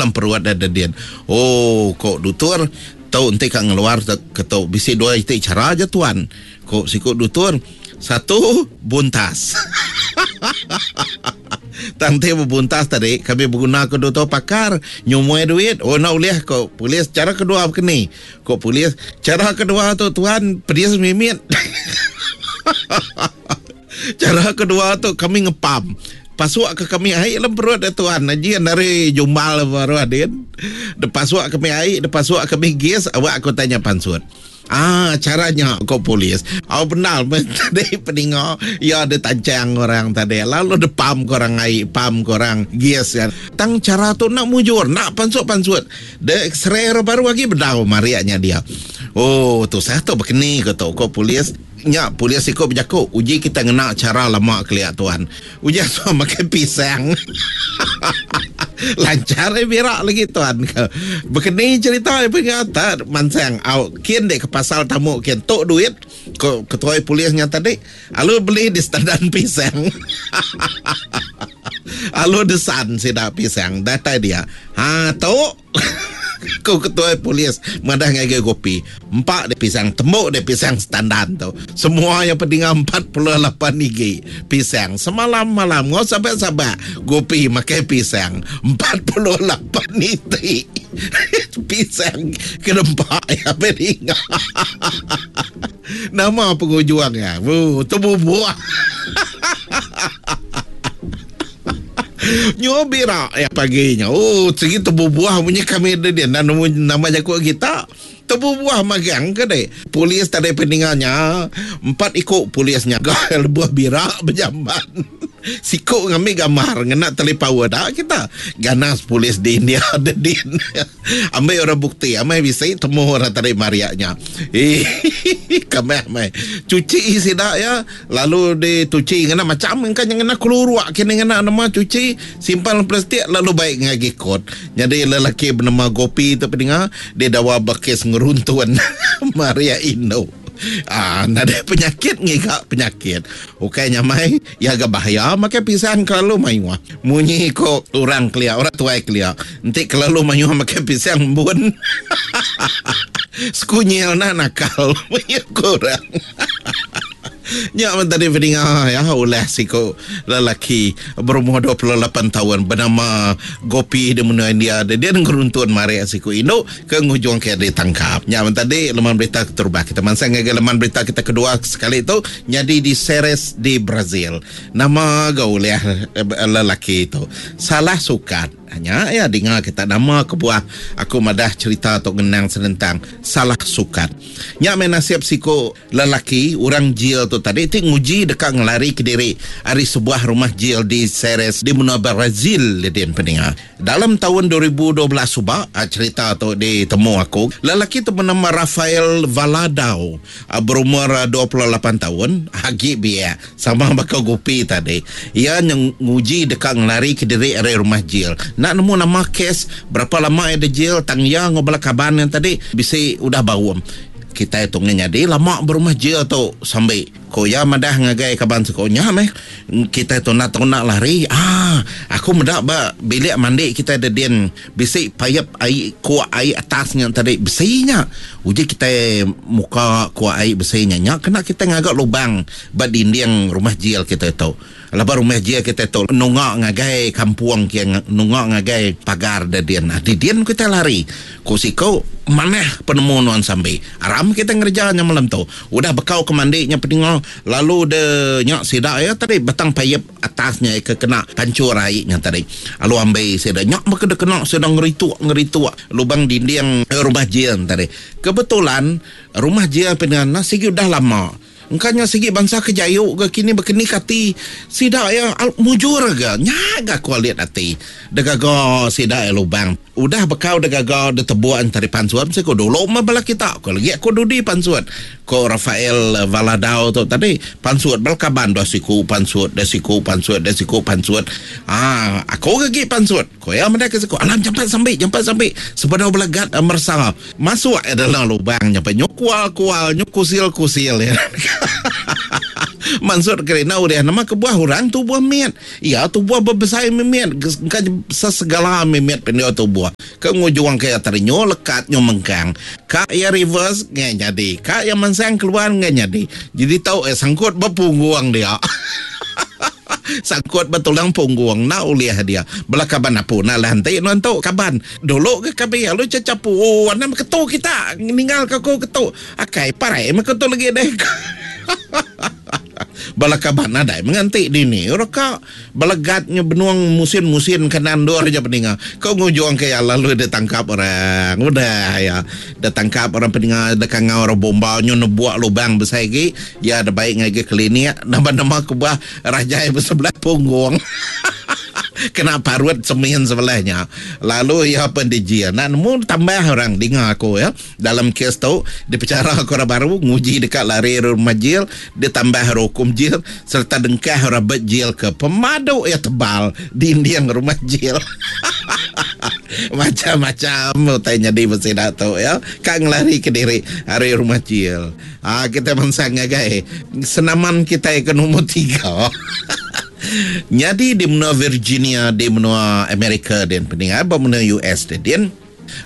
dalam perut deh dedin. Oh ko dutur tu enti ka ngeluar ke tu bisi dua iti chara aja tuan ko siku dutur. Satu buntas. Tang ti bebuntas tadi kami beguna ke dutur pakar nyumui duit. Oh enda ulih ko polis chara kedua bekeni. Ko polis chara kedua tu tuan pedis mimit. Chara kedua tu kami ngepam. Pasuk ke kami ai dalam perut dia tuan. Ajin ari jumbal baru adin. Depasuk kami ai, depasuk kami gas, awak aku tanya pansut. Ah, cara nya ko polis. Au bendar meh tadi peninga iya ditancang orang tadi. Lalu depam ke orang ai, pam ke orang gas kan. Tang cara tu enda mujur, enda pansut-pansut. De x-ray baru agi bedau marik nya dia. Oh, tusah tu bekeni ko tu ko polis. Nya polis siku bejaku, uji kita ngena chara lama kelia tuan. Uji asuh makai pisang. Lancar ai bira lagi tuan ke. Bekeni cerita ai penga tak mansang au kin dek ke pasal tamu kin tok duit ko ketuai polis nya tadi alu beli di standan pisang. Alu desan sida pisang datai dia. Ha tok. Ku ketuai polis madah ngagai Gopi, empa deh pisang tembu deh pisang setandan tu. Semua iya pedinga 48 igi pisang semalam-malam enggau sabak-sabak Gopi makai pisang 48 iti pisang ke dempa iya pedinga. Nama pengujung iya? Wuh tebubuh. Nyu bira ya pagi nya. Oh, sigi tebubuh munyi kami dia dia nemu nama jaku kita. Tebubuh magang ke dek. Polis tadi peninga nya empat iku polis nya ga lebuh bira bejamban. Siku ngambi gambar ngena talipaun da kita. Ganas polis di India dedin. Ambil orang bukti, amai bisi temu orang tadi maria nya. Hihihi kameh meh. Cuci sida ya. Lalu dituchi ngena macham engka nya ngena keluruk kini ngena nama cuchi simpan dalam plastik lalu baik ngagai kot. Nyadi lelaki benama Gopi tu pedinga didawa ba kes ngeruntun Maria Indu. Aaa nadai penyakit ngiga penyakit. Ukai nyamai iya ga bahaya makai pisang kelalu mayuh. Munyi ko orang kelia orang tuai kelia enti kelalu mayuh makai pisang embun sekunyil enda nakal munyi ko orang. Nya men tadi pedinga ya ulah siku lelaki berumur 28 taun benama Gopi di menua India dia dia ngeruntun marik siku indu ke ngujung ke ditangkap. Nya men tadi leman berita keterubah kita mansang ngagai leman berita kita kedua sekali tu nyadi di Ceres di Brazil. Nama ga ulih lelaki tu salah sukat. Nya iya dinga kita nama kebuah aku madah cherita tu ngenang senentang salah sukat. Nya meh nasib siku lelaki orang jil tu tadi ti nguji deka ngelari kediri ari sebuah rumah jil di Ceres di menua Brazil din peninga. Dalam taun 2012 suba cherita tu ditemu aku, lelaki tu benama Rafael Valadao berumur 28 taun agi biak. Sama baka Gupi tadi, iya nguji deka ngelarika diri ari rumah jil. Enda nemu nama kes, berapa lama iya dijil tang iya enggau bala kaban iya tadi bisi udah baum. Kitai tu ngah nyadi lama berumah jil tu sambi, ku iya madah ngagai kaban siku. Nya meh kitai tu enda tau enda lari. Aaa aku meda ba bilik mandi kitai dedin Bisi paip ai kuak ai atas nya tadi besi nya. Uji kitai muka kuak ai besi nya nya kena kitai ngaga lubang ba dinding rumah jil kitai tu. Laban rumah jil kitai tu nunga ngagai kampung kia nunga ngagai pagar da din. Ati din kitai lari. Ku siku manah penemu nuan sambi. Aram kitai ngereja nya malam tu. Udah bekau ke mandi nya peninga lalu de nya sida iya tadi batang paip. Atas nya ke kena pancur ai nya tadi. Alu ambi sida nya meh ke dikena sida ngerituk ngerituk lubang dinding rumah jil tadi. Kebetulan rumah jil pina sigi udah lama. Engka nya sigi bansa ke jayu ga kini bekeni kati sida iya mujur ga nya ga ku alit ati degaga sida iya lubang. Udah bekau degaga ditebuk entari pansut mesti ku dulu meh bala kita ku legi aku dudi pansut ko Rafael Valadao tu tadi pansut bala kaban dua siku pansut dua siku pansut dua siku pansut aaa aku ke agi pansut ko iya meda ke siku alam jampat sambi jampat sambi sebedau bala guard meresa masuk iya dalam lubang nyampai nyu kual kual nyu kusil kusil iya. Mansut ke enda ulih nama kebuah orang tubuh mit. Iya tubuh bebesai mimit engka sesegala mimit pendiau tubuh ke ngujung ke iya terenyu lekat nyu mengkang. Ka iya reverse enggai nyadi, ka iya mansang keluar enggai nyadi. Jadi tau iya sangkut ba punggung dia. Sangkut ba tulang punggung enda ulih dia. Bala kaban apu enda alah enti nuan tu kaban. Dulu ga kami lalu chachapu anang beketu kita ninggal ka aku ketu. Akai parai meh ku tu legi deh. Bala kaban nadai menganti dini ora ka belegat nya benung musin-musin kanan endur ja peninga. Ko ngujung ke iya lalu ditangkap orang. Udah iya ditangkap orang peninga dikangau orang bomba nyu nebuk lubang besai agi iya dibai ngagai klinik nama-nama kebuah rajai besebelah punggung. Kena parut semin sebelah nya lalu iya pen dijil. Enda nemu tambah orang dinga aku iya. Dalam kes tu, dipechara ke orang baru nguji deka lari ari rumah jil, ditambah ari ukum jil sereta dengkah orang ba jil ke pemadu iya tebal dinding rumah jil. Macam-macam utai nyadi ba sida tu iya ka ngelari ke diri ari rumah jil. Haa kitai mansang ngagai senaman kitai ke nombor tiga. Nyadi di menua Virginia di menua Amerika din peninga ba menua US din.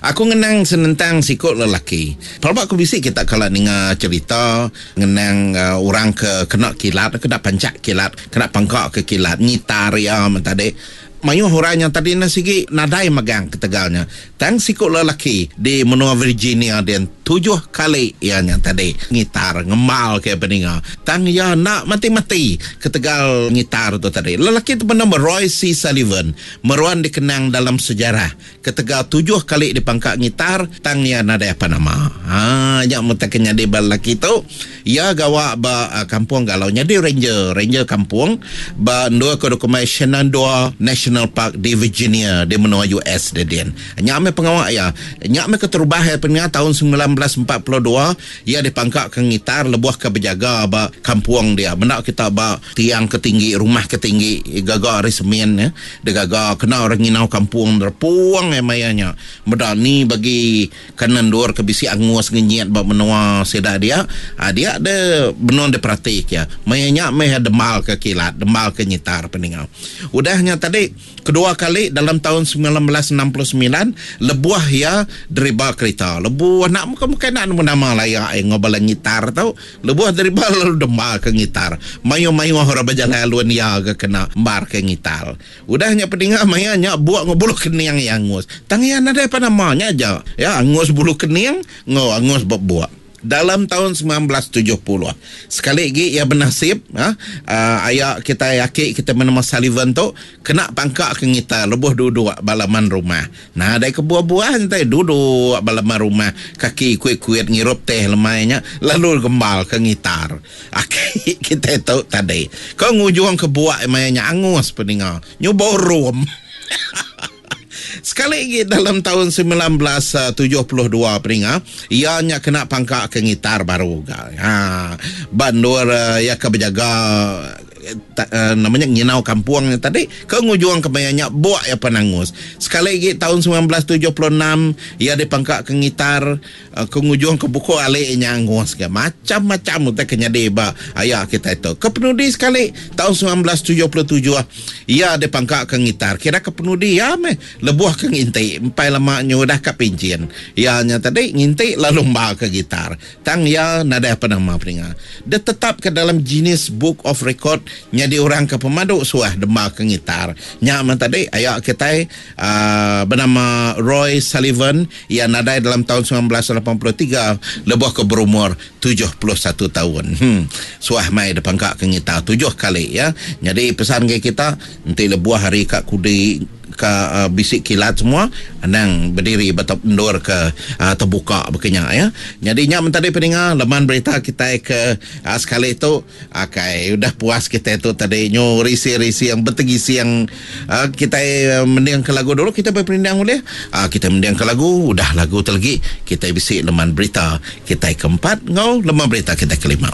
Aku ngenang senentang siku lelaki. Pelaba ku bisi kita kala ninga cherita ngenang orang ke kena kilat, kena panchak kilat, kena pangka ke kilat, ngitar iya men tadi. Mayuh orang nya tadi ne sigi nadai megang ketegal nya. Tang siku lelaki di menua Virginia din tujuh kali iya nya tadi ngitar ngemal ke peninga. Tang iya enda mati-mati ketegal ngitar tu tadi. Lelaki tu benama Roy C. Sullivan meruan dikenang dalam sejarah Ketegal tujuh kali dipangka ngitar, tang iya nadai apa nama. Ha, nya meh ke nyadi ba lelaki tu. Iya gawa ba kampung galau nyadi ranger, ranger kampung ba endur ke dikumbai Shenandoah National Park di Virginia di menua US dia din. Nya meh pengawa iya. Nya meh keterubah iya peninga taun 1942 iya dipangka ke ngitar lebuh ke bejaga ba kampung dia. Menda kita ba tiang ke tinggi, rumah ke tinggi gaga ari semin. Digaga kena orang nginau kampung nerepung ai maya nya. Meda ni bagi kanan endur ke bisi angus ngenyit ba menua sida dia, dia de benung diperati ke. Maya nya meh dembal ke kilat, dembal ke nyitar peninga. Udah nya tadi, kedua kali dalam taun 1969 lebuh iya deriba kerita. Lebuh enda mukai-mukai enda nemu nama laya iya enggau bala nyitar tu. Lebuh deriba lalu demba ke ngitar. Mayuh-mayuh orang bejalai alun iya ga kena embar ke ngitar. Udah nya pedinga maya nya buk enggau bulu kening iya angus. Tang iya nadai pan nama nya aja. Iya angus bulu kening enggau angus ba buk. Dalam taun 1970 sekali agi iya benasib aya kitai aki kitai benama Sullivan tu kena pangka ke ngitar lebuh duduk ba laman rumah. Nadai kebuah-buah enti duduk ba laman rumah kaki kuit-kuit ngirup teh lemai nya lalu gembal ke ngitar. Aki kitai tu tadi ke ngujung ke buak maya nya angus peninga nyuba rum. Sekali agi dalam taun 1972 peninga iya nya kena pangka ke ngitar baru ga. Ha ba endur iya ke bejaga nama nya nginau kampung nya tadi ke ngujung ke maya nya buk iya penangus. Sekali agi taun 1976 iya dipangka ke ngitar ke ngujung ke buku ali nya angus ga. Macam-macam utai ke nyadi ba aya kitai tu. Ke penudi sekali taun 1977 iya dipangka ke ngitar. Kira ke penudi iya meh lebuh ke nginti empai lama nyu udah ka pinchin. Iya nya tadi nginti lalu emba ke gitar. Tang iya nadai apa nama peninga. Ditetapka dalam Guinness Book of Record nyadi orang ke pemadu suah demba ke ngitar. Nya meh tadi aya kitai uhh benama Roy Sullivan iya nadai dalam taun 1983 lebuh ke berumur 71 taun. Hmm suah mai dipangka ke ngitar tujuh kali ya. Nyadi pesan ngagai kita enti lebuh hari ka kudi ka bisi kilat semua anang bediri ba endur ke tebuka baka nya ya. Nyadi nya men tadi peninga leman berita kitai ke sekali tu akai udah puas kitai tu tadi nyu rising-rising betegising kitai mending ke lagu dulu kitai beperindang ulih kitai mending ke lagu udah lagu tu legi kitai bisi leman berita kitai ke empat enggau leman berita kitai kelima.